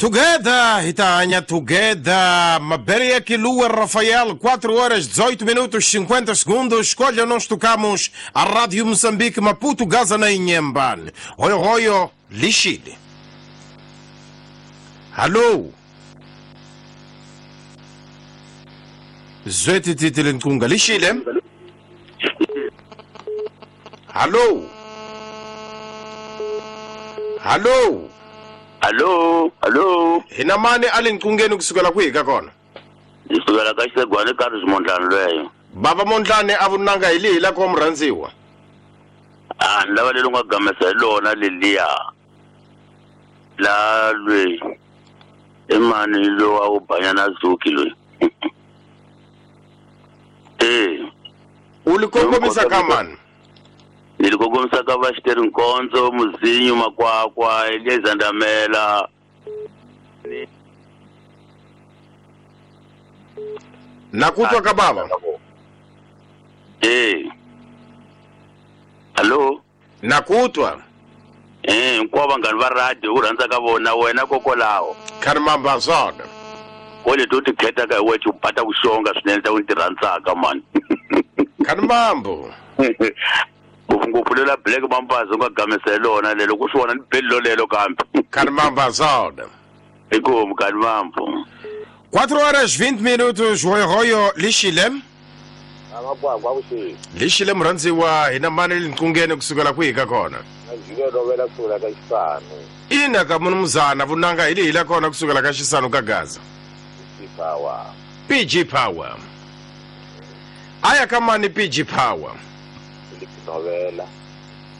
Together, Itanha, together. Maberia Quilua Rafael, 4 horas 18 minutos 50 segundos. Escolha, nós tocamos a Rádio Moçambique, Maputo, Gaza, na Inhambane. Royo, royo, Lixile. Alô? Zweti titile nkunga, Lixile? Alô? Alô? Allo, allo. Hina mani a le nqungeni kusukela kwihi ka kona? Ndzi sukela ka Xisegwani ka Mondlani lweyo. Bava Mondlani a vunanga hi lihi la ko murhandziwa? A ni lava leri nga gamesa hi lona leliya. La lweyi. I mani lowa wo banyana Zuki loyi. Eh. U li kongomisa ka mani? Ni li kongomisa ka va Xiteri Nkondzo, Muzinyu Makwakwa, Elieza Ndamela. Na kutwa ka bava? Eh. Allo? Na kutwa. Eh, hinkwavo vanghani va radio u rhandza ka vona wena kokolaho. Kharimamba swona. Ko leti u ti khetaka hi wexe u bata ku xonga swinene ta ku ti rhandzaka mani. Kharimambo. Ngopfungopfu lela Black Mambazo u nga gamesa hi lona lelo ku swi vona ni beli lolelo kambe. Kharimamba swona. Inkomu Kharimambo. 4 horas 20 minutos, royo royo lixile. Amakwakwa vuxeni. Lixile murhandziwa hina mani le nqungeni kusukela kwihi ka kona? Njhike lovela kusukela ka Xisanu. Ina ka munumuzana vunanga hi lihi la kona kusukela ka Xisanu ka Gaza? PG Power. PG Power. Aya ka mani PG Power? Novela.